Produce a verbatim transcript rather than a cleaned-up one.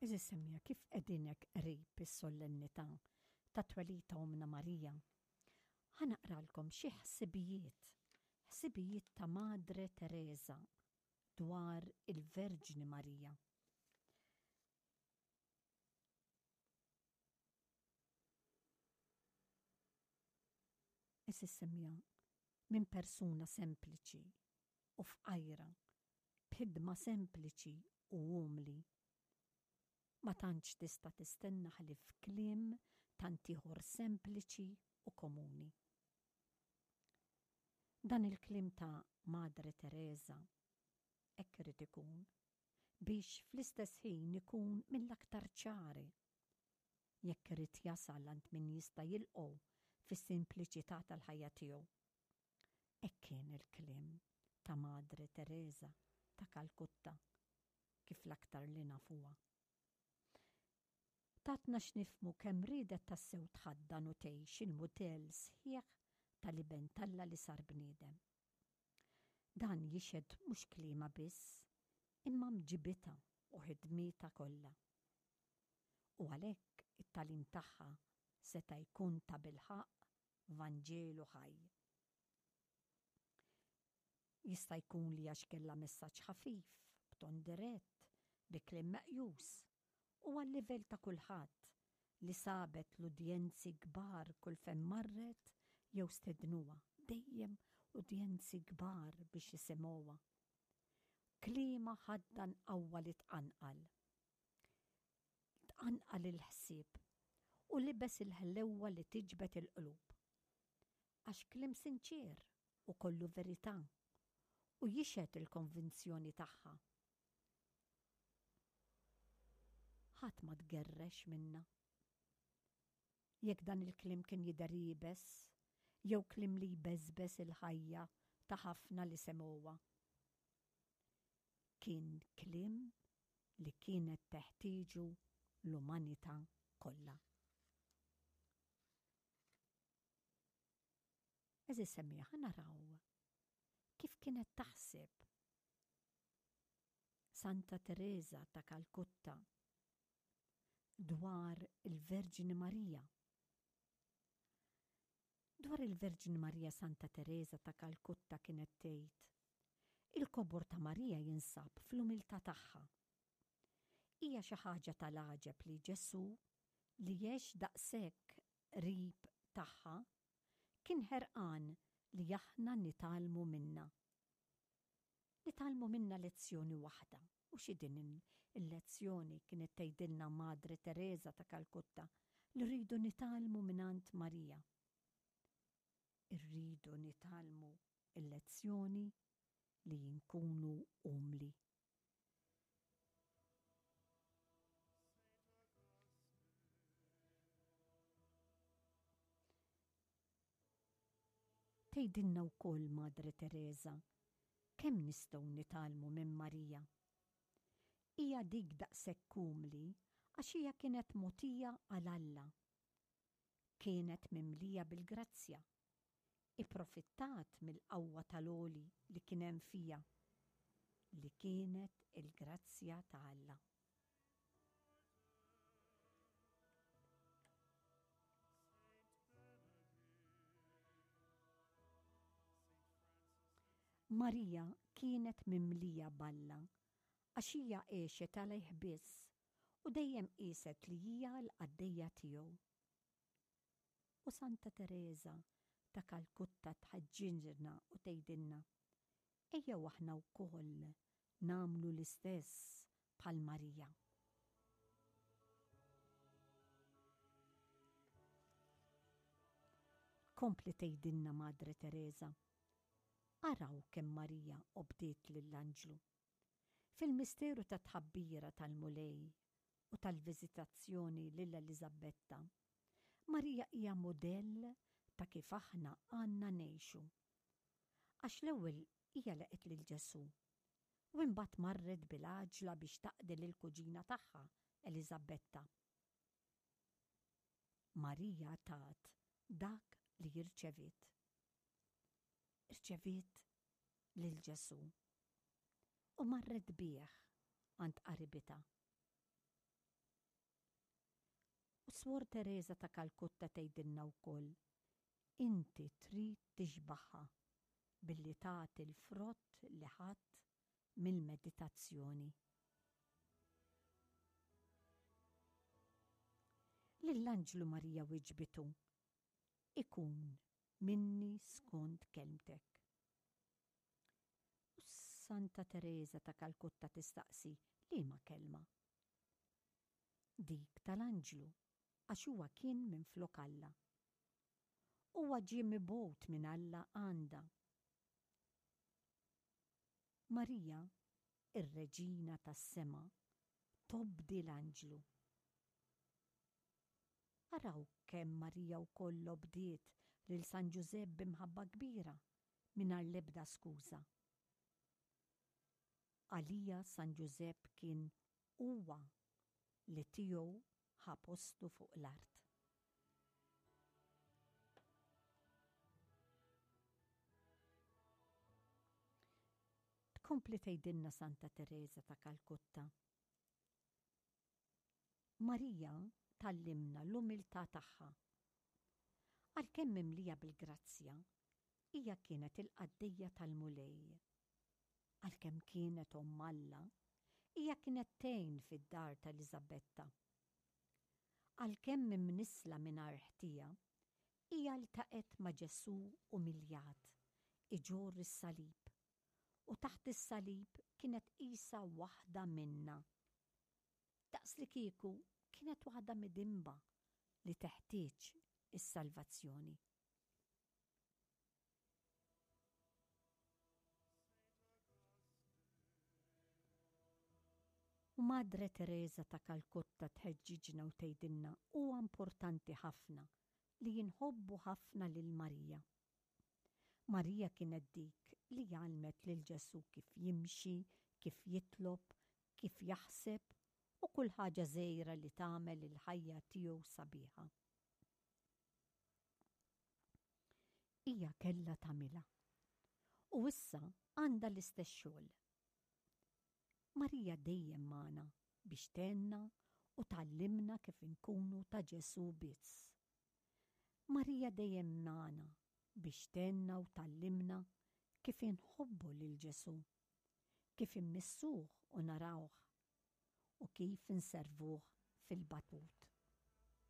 Għeżież semmiegħa, kif qegħdin hekk qrib is-solennità ta' twelid ta' Ommna Marija, ħa naqralkom xi ħsibijiet, ħsibijiet ta' Madre Teresa dwar il-Verġni Marija. Għeżież semmiegħa, minn persuna sempliċi u fqajra, b'ħidma sempliċi u umli, ma tantx tista' tistenna ħlief kliem tant ieħor sempliċi u komuni. Dan il-kliem ta' Madre Teresa hekk irid ikun biex fl-istess ħin ikun mill-aktar ċari jekk irid jasal għand min jista' jilqgħu fis-simpliċità tal-ħajja tiegħu. Hekk kien il-kliem ta' Madre Teresa ta' Kalkutta kif l-aktar li nafuha. Tatna x'nifhmu kemm riedet tassew tħaddan u tgħix il-mudell sħiħ tal-Iben t'Alla li sar bniedem. Dan jixhed mhux kliemha biss, imma mġibitha u ħidmietha kollha. U għalhekk it-tagħlim tagħha seta' jkun tabilħaqq Vanġelu ħaj. Jista' jkun li għax kellha messaġġ ħafif, b'ton dirett, bi kliem meqjus, u għal-livell ta' kulħadd li sabet l-udjenzi kbar kull fejn marret jew stednuha, dejjem udjenzi kbar biex jisimgħuha. Kliemha ħaddan qawwa li tqanqal. Tqanqal il-ħsieb u libes il-ħlewwa li tiġbed il-qlub. Għax kliem sinċier u kollu verità u jixhed il-konvinzjoni tagħha. Ħadd ma tgerrex minna. Jekk dan il-kliem kien jidher iebes, jew kliem li jbeżbeż il-ħajja ta' ħafna li semgħuha. Kien kliem li kienet teħtieġu l-umanità kollha. Għeżież semmiegħa, ħa naraw kif kienet taħseb Santa Teresa ta' Kalkutta dwar il-Verġni Marija. Dwar il-Verġni Marija Santa Teresa ta' Kalkutta kienet tgħid, il-kobor ta' Marija jinsab fl-umiltà tagħha. Hija xi ħaġa tal-għaġeb li Ġesù li għex daqshekk qrib tagħha kien ħerqan li aħna nitgħallmu minna. Nitgħallmu minna lezzjoni waħda. U xi din il-lezzjoni kienet tgħidilna Madre Teresa ta' Kalkutta li rridu nitgħallmu mingħand Marija. Irridu nitgħallmu il-lezzjoni li nkunu umli. Tgħidilna wkoll Madre Teresa kemm nistgħu nitgħallmu minn Marija. Hija dik daqshekk umli għax hija kienet mogħtija għal Alla. Kienet mimlija bil-grazzja. Ipprofittat mill-qawwa tal-għoli li kien hemm fija, li kienet il-grazzja ta' Alla. Marija kienet mimlija b'Alla għax hija għexet għalih biss u dejjem qieset li hija l-qaddejja tiegħu. U Santa Teresa ta' Kalkutta tħeġġiġna u tgħidilna, ejjew aħna wkoll nagħmlu l-istess bħal Marija. Kompli tgħidilna Madre Teresa, araw kemm Marija obdiet lill-anġlu. Fil-misteru ta' tħabbira tal-Mulej u tal-viżitazzjoni lil Eliżabetta, Marija hija mudell ta' kif aħna għandna ngħixu. Għax l-ewwel hija laqgħet lil Ġesù u imbagħad marret bil-għaġla biex taqdi lil kuġina tagħha Eliżabetta. Marija tat dak li rċeviet. Irċeviet lil Ġesù u marret bih għand qaribitha. U Swor Tereża ta' Kalkutta tgħidilna wkoll, inti trid tixbaħha billi tagħti l-frott li ħadt mill-meditazzjoni. Lill-anġlu Marija wiġbitu, ikun minni skont kelmtek. U Santa Tereża ta' Kalkutta tistaqsi liema kelma? Dik tal-anġlu, għax huwa kien minflok Alla. Huwa ġie mibgħut minn Alla għandha. Marija, ir-Reġina tas-sema, tobdi l-anġlu. Araw kemm Marija wkoll obdiet lil San Ġużepp b'imħabba kbira, mingħajr l-ebda skuża. Għalija San Ġużepp kien huwa li tiegħu ħa postu fuq l-art. Tkompli tgħidilna Santa Tereża ta' Kalkutta. Marija tgħallimna l-umiltà tagħha. Għalkemm mimlija bil-grazzja, hija kienet il-qaddejja tal-Mulej. Għalkemm kienet omm Alla, hija kienet tgħin fid-dar ta' Eliżabetta. Għalkemm imnissla mingħajr ħtija, hija ltaqgħet ma' Ġesù umiljat, iġorr is-salib, u taħt is-salib kienet qisha waħda minna. Daqs li kieku kienet waħda midinba li teħtieġ is-salvazzjoni. U Madre Teresa ta' Kalkutta tħeġġiġna u tgħidilna huwa importanti ħafna li jinħobbu ħafna lil Marija. Marija kienet dik li għallmet lil Ġesù kif jimxi, kif jitlob, kif jaħseb u kull ħaġa żgħira li tagħmel il-ħajja tiegħu sabiħa. Hija kellha tagħmilha. U issa għandha l-istess xogħol. Marija dejjem magħna biex tgħinna u tgħallimna kif inkunu ta' Ġesù biss. Marija dejjem magħna biex tgħinna u tgħallimna kif inħobbu lil Ġesù, kif immissuh u narawh, u kif inservuh fil-batut.